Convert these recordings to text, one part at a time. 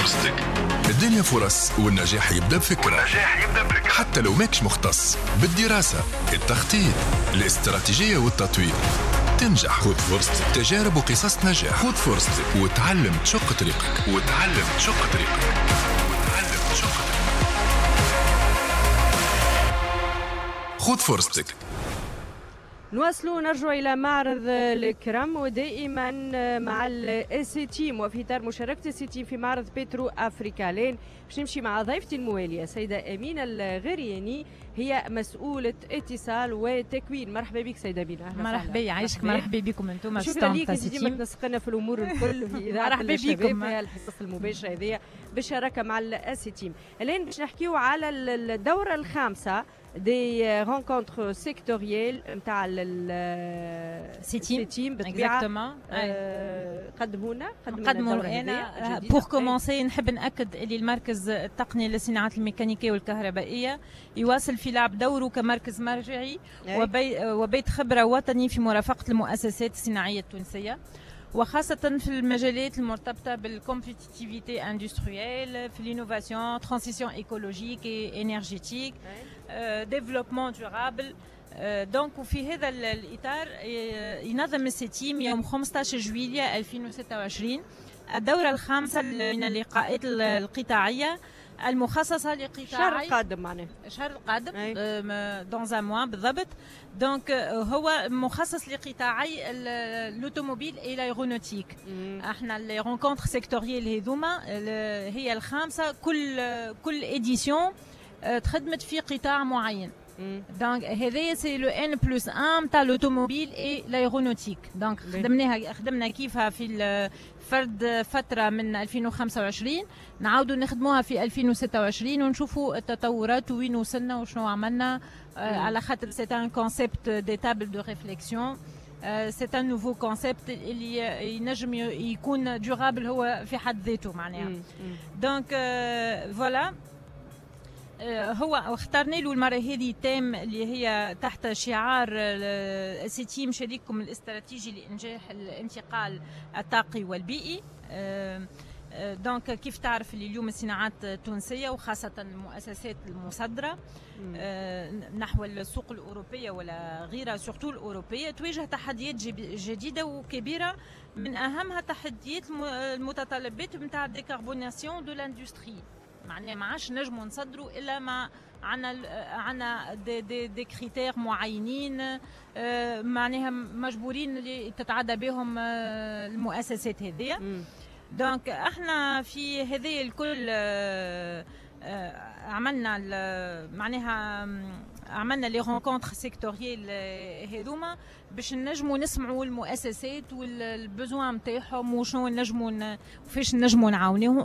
فرصتك. الدنيا فرص، والنجاح يبدأ بفكرة، حتى لو ماكش مختص. بالدراسة، التخطيط، الاستراتيجية والتطوير تنجح. خذ فرصتك، تجارب وقصص نجاح. خذ فرصتك وتعلم تشق طريقك، وتعلم تشق طريقك، وتعلم تشق طريقك. خذ فرصتك. نواصلوا نرجع إلى معرض الكرم، ودائما مع السيتيم وفي إطار مشاركة السيتيم في معرض بترو أفريكا. لين باش نمشي مع ضيفتي الموالية سيدة أمينة الغرياني، هي مسؤولة اتصال وتكوين. مرحبا بك سيدة أمينة. مرحبا، يعيشك. مرحبا بكم انتم. شكرا لك، ديما تنسقنا في الأمور الكل في إذاعة الشباب في الحصص المباشرة هذه بالشراكة مع السيتيم. الآن باش نحكيو على الدورة الخامسة des rencontres sectorielles نتاع السيتيم بالطبيعة. قدمونا قدموا انا pour commencer نحب ناكد اللي المركز التقني للصناعات الميكانيكية والكهربائيه يواصل في لعب دوره كمركز مرجعي وبيت خبره وطني في مرافقة المؤسسات الصناعية التونسية، وخاصة في المجالات المرتبطة بال compétitivité industrielle، في l'innovation، transition écologique et énergétique، développement durable. donc وفي هذا الإطار ينظم السيتيم يوم 15 جويلية 2026 الدورة الخامسة من اللقاءات القطاعية المخصصة لقطاع الشهر القادم، معناه الشهر القادم dans un mois بالضبط. donc هو مخصص لقطاعي l'automobile et l'aéronautique. احنا les rencontres sectorielles هذوما هي الخامسة، كل édition تخدمت في قطاع معين. donc هذايا c'est le N plus 1 تاع l'automobile et l'aéronautique. donc خدمنا كيفها في فرد فترة من 2025، نعاودوا نخدموها في 2026 ونشوفوا التطورات وين وصلنا وشنو عملنا، على خاطر c'est un concept des tables de réflexion، c'est un nouveau concept اللي ينجم يكون durable هو في حد ذاته معناها. donc voilà، هو اخترنا له المرة هذه thème اللي هي تحت شعار السيتيم شريككم الاستراتيجي لإنجاح الانتقال الطاقي والبيئي. donc كيف تعرف اللي اليوم الصناعات التونسية وخاصة المؤسسات المصدرة نحو السوق الأوروبية ولا غيرها، surtout الأوروبية، تواجه تحديات جديدة وكبيرة، من أهمها تحديات المتطلبات نتاع décarbonation de l'industrie. معناها ما عادش نجموا نصدروا الا ما عندنا des critères معينين، معناها مجبورين اللي تتعدى بهم المؤسسات هذه. donc احنا في هذه الكل عملنا معناها عملنا les rencontres sectorielles هذوما باش نجموا نسمعوا المؤسسات وال besoins نتاعهم وشنو نجموا وفاش نجموا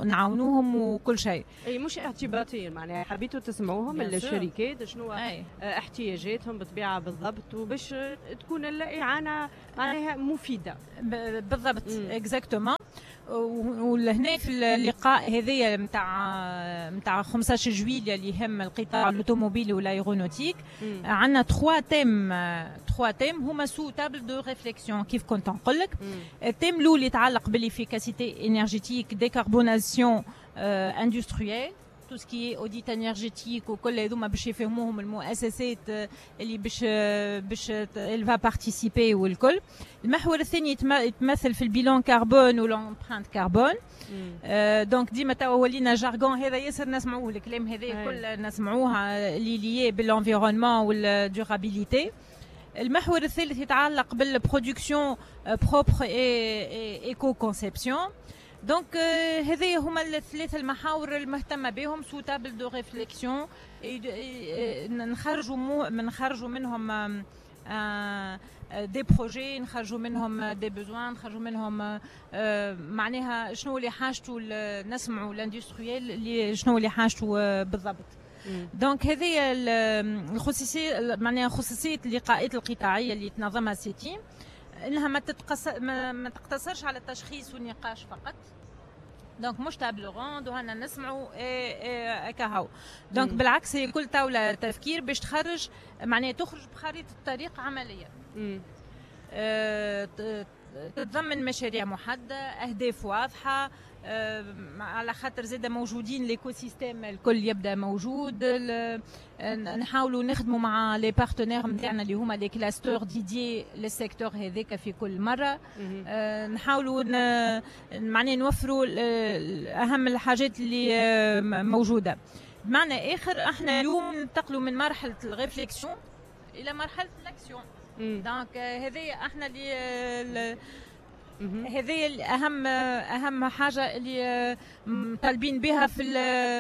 نعاونوهم وكل شيء. اي مش اعتباطيا، معناها حبيتوا تسمعوهم الشركات شنو احتياجاتهم بالطبيعة بالضبط، وباش تكون الاعانة معناها مفيدة. بالضبط، exactement. ولهنا في اللقاء هذايا نتاع 15 جويلية اللي يهم القطاع l'automobile و l'aéronautique، عندنا 3 thèmes هما sous table de réflexion كيف كنت نقول لك. ال thème الاول يتعلق بال efficacité énergétique، décarbonation industrielle، tout ce qui est audit énergétique وكل هذوما باش يفهموهم المؤسسات اللي باش elle va participer والكل. المحور الثاني يتمثل في ال bilan carbone و l'empreinte carbone. donc ديما توا ولينا jargon هذا ياسر نسمعوه، الكلام هذا كل نسمعوه اللي lié بال environnement وال durabilité. المحور الثالث يتعلق بال production propre et éco-conception. donc هذه هما الثلاث المحاور المهتمة بهم sous table de réflexion، نخرجوا منهم des projets، نخرجوا منهم des besoins، نخرجوا منهم معناها شنو اللي حاجته، نسمعوا l'industriel اللي شنو اللي حاجته بالضبط. donc هذه الخصوصيه، معناها خصوصية اللقاءات القطاعيه اللي تنظمها سيتيم، انها ما تقتصرش على التشخيص والنقاش فقط. donc مش table ronde وهنا نسمعوا إيه كهو. donc بالعكس، هي كل طاولة تفكير باش تخرج، معناها تخرج بخريطه طريق عمليه. تتضمن مشاريع محدده، اهداف واضحه، على خاطر زاد موجودين l'écosystème الكل يبدا موجود. نحاولوا نخدموا مع les partenaires نتاعنا اللي هما les clusters dédiés لل secteur هذاك في كل مره. نحاولوا معناها نوفروا اهم الحاجات اللي موجوده. بمعنى اخر، احنا اليوم ننتقلوا من مرحلة ال réflexion الى مرحلة l'action. donc هذه احنا اللي هذه اهم حاجة اللي مطالبين بها في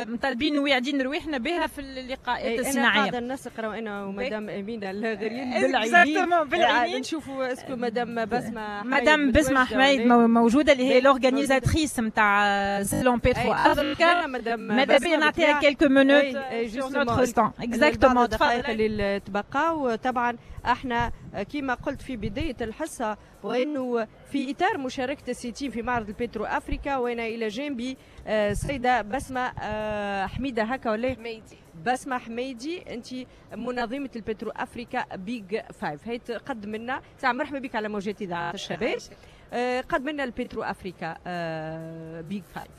مطالبين وواعدين رواحنا بها في اللقاءات الصناعيه. انا قاعدة نسق انا ومدام امينه الغريان بالعينين. بالعينين. نشوفوا est-ce que مدام بسمه. مدام بسمه حميد موجوده، اللي هي l'organisatrice نتاع salon Petro Africa. ماذا بيا نعطيها quelques minutes sur notre stand. exactement، الدقائق اللي تبقاو. طبعا احنا كما قلت في بداية الحصه، وانه في اطار مشاركة السيتيم في معرض البترو افريكا، وانا الى جانبي السيدة بسمه حميده، هكا ولا؟ حميدي. بسمه حميدي، انت منظمة البترو افريكا Big Five. هي تقدم لنا ساعه، مرحبا بك على موجات اذاعة الشباب. قدم لنا البترو افريكا Big Five.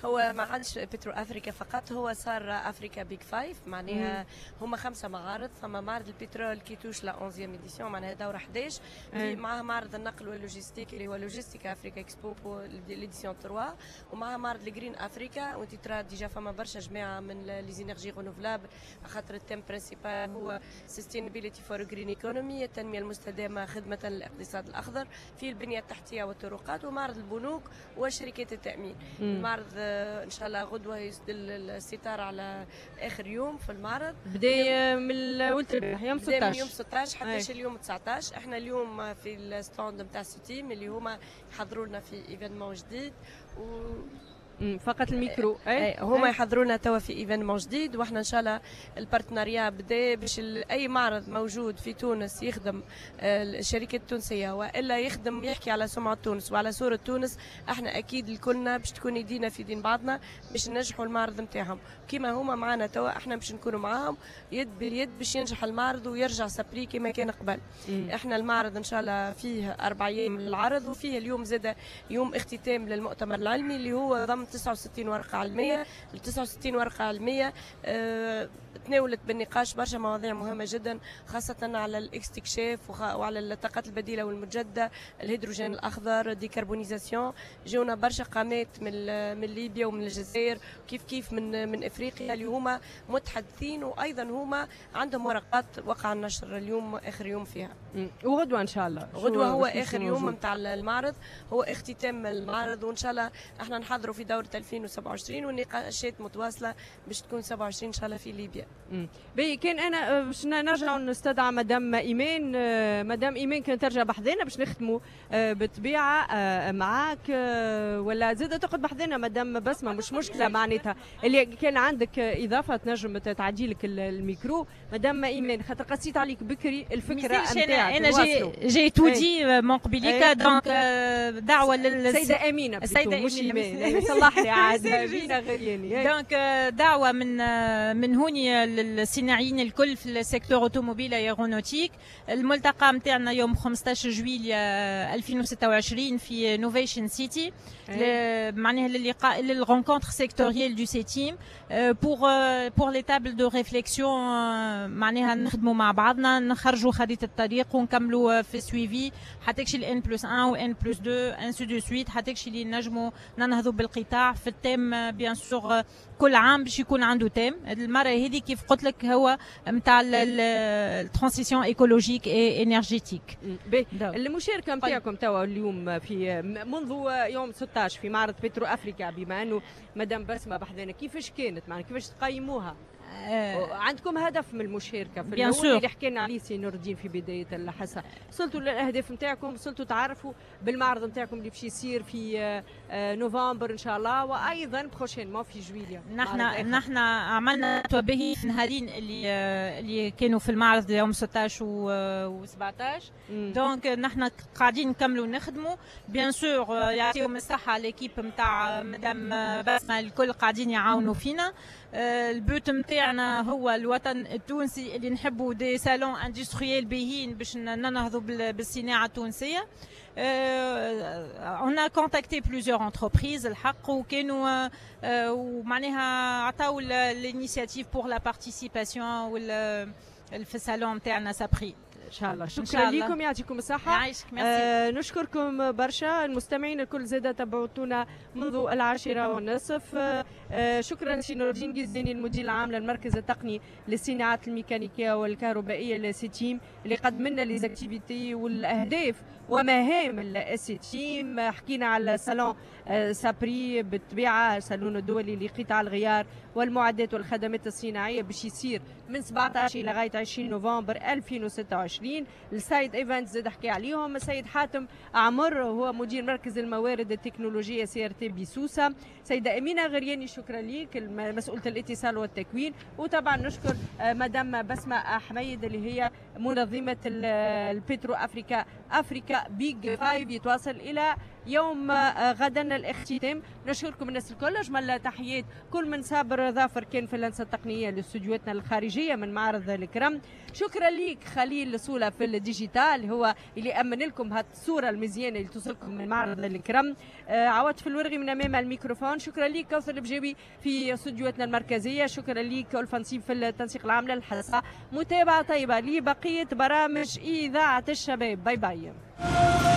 هو ما عادش بترو افريكا فقط، هو صار Africa Big Five، معناها هما خمسة معارض. فما معرض البترول qui touche la 11 édition، معناها دوره 11، معها معرض النقل واللوجيستيك اللي هو Logistic Africa Expo l'édition 3، ومعها معرض ال Green Africa، وانت ترى déjà فما برشا جماعة من les énergies renouvelables، خاطر ال thème principal هو sustainability for green economy، التنمية المستدامة خدمة للاقتصاد الاخضر في البنية التحتية والطرقات، ومعرض البنوك وشركات التامين. المعرض ان شاء الله غدوه يسدل الستار على اخر يوم في المعرض. بدا من اول يوم 16. من يوم 16 حتى اليوم 19. احنا اليوم في ال stand نتاع سيتيم اللي هما يحضروا لنا في événement جديد و فقط الميكرو. اي هما يحضرونا توا في événement جديد، واحنا ان شاء الله ال partenariat بدا باش اي معرض موجود في تونس يخدم الشركات التونسية والا يخدم يحكي على سمعه تونس وعلى صوره تونس، احنا اكيد الكلنا باش تكون يدينا في دين بعضنا باش ننجحوا المعرض نتاعهم. كيما هما معنا توا، احنا باش نكونوا معاهم يد باليد باش ينجح المعرض ويرجع sa prix كما كان قبل. احنا المعرض ان شاء الله فيه 4 ايام للعرض، وفيه اليوم زاد يوم اختتام للمؤتمر العلمي اللي هو ضم 69 ورقة علميه. ال 69 ورقة علمية تناولت بالنقاش برشا مواضيع مهمة جدا، خاصة على الاستكشاف وعلى الطاقات البديلة والمتجدده، الهيدروجين الاخضر، décarbonisation. جونا برشا قامات من ليبيا ومن الجزائر، كيف كيف من افريقيا، اللي هما متحدثين، وايضا هما عندهم ورقات وقع النشر اليوم اخر يوم فيها. وغدوه ان شاء الله. غدوه هو اخر يوم نتاع المعرض، هو اختتام المعرض، وان شاء الله احنا نحضروا في دوره 2027، والنقاشات متواصلة باش تكون 27 ان شاء الله في ليبيا. باهي، كان انا باش نرجع نستدعى مدام ايمان. مدام ايمان، كان ترجع بحذانا باش نختموا بالطبيعة معاك، ولا زاد تقعد بحذانا مدام بسمه، مش مشكله. معناتها اللي كان عندك اضافه تنجم تعدي لك الميكرو مدام ايمان، خاطر قصيت عليك بكري الفكرة نتاعك. انا j'ai tout dit من قبيليك، donc دعوه لل السيدة امينه. السيدة مش ايمان، صلح لي عاد، امينه غرياني. donc دعوه من هوني للصناعيين الكل في ال secteur automobile aéronautique. الملتقى نتاعنا يوم 15 جويلية 2026 في Novation City، معناها للقاء لل rencontre sectorielle du SETIM pour les tables de réflexion، معناها نخدموا مع بعضنا، نخرجوا خريطة الطريق ونكملوا في suivi حتى ال N plus 1 و N plus 2 ainsi de suite، حتى اللي نجموا ننهضوا بالقطاع في ال thème. bien sûr كل عام باش يكون عنده thème. المرة هذه كيف قلت لك هو نتاع ال transition écologique et énergétique. المشاركة نتاعكم توا اليوم في منذ يوم 16 في معرض بترو افريكا، بما انه مدام بسمه بحذانا، كيفاش كانت؟ معنا كيفاش تقيموها؟ عندكم هدف من المشاركة في الاول اللي حكينا عليه سي نور الدين في بداية الحصه، وصلتوا للاهداف نتاعكم؟ وصلتوا تعرفوا بالمعرض نتاعكم اللي باش يصير في نوفمبر ان شاء الله، وايضا prochainement في جويليا؟ نحن عملنا به نهارين اللي كانوا في المعرض، يوم 16 و 17. donc نحن قاعدين نكملوا نخدموا. bien sûr يعطيهم الصحة l'équipe نتاع مدام بسمه، الكل قاعدين يعاونوا فينا. ال but نتاعنا نتاعنا هو الوطن التونسي اللي نحبوا des salons industriels باهيين باش ننهضوا بالصناعة التونسيه. on a contacté plusieurs entreprises الحق، وكانوا ومعناها عطاو l'initiative pour la participation في الصالون نتاعنا SAPRI. ان شاء الله. شكرا لكم، يعطيكم الصحه. يعيشك، ميرسي. نشكركم برشا، المستمعين الكل زاد تبعتونا منذ 10:30. شكرا سي نور الدين جزيني، المدير العام للمركز التقني للصناعات الميكانيكية والكهربائيه للسيتيم، اللي قدم لنا les activités والاهداف ومهام السيتيم. حكينا على صالون SAPRI، بالطبيعة صالون الدولي لقطاع الغيار والمعدات والخدمات الصناعيه، باش يصير من 17 الى غاية 20 نوفمبر 2026. ال side events زاد حكي عليهم السيد حاتم عمر، هو مدير مركز الموارد التكنولوجية CRT بسوسه. سيده امينه غرياني، شكرا لك، مسؤولة الاتصال والتكوين. وطبعا نشكر مدام بسمه حميد اللي هي منظمة ال Petro Africa Africa Big Five، يتواصل الى يوم غدا الاختتام. نشكركم الناس الكل، اجمل تحيات كل من صابر ظافر كان في اللمسة التقنية لاستوديوهاتنا الخارجية من معرض الكرم. شكرا ليك خليل سوله في ال digital، هو اللي امن لكم هالصورة المزيانه اللي توصلكم من معرض الكرم. عواطف الورغي من امام الميكروفون. شكرا ليك كوثر البجاوي في استوديوهاتنا المركزيه. شكرا ليك الفنسيب في التنسيق العام للحلقه. متابعه طيبة لبقية برامج اذاعة الشباب. bye bye.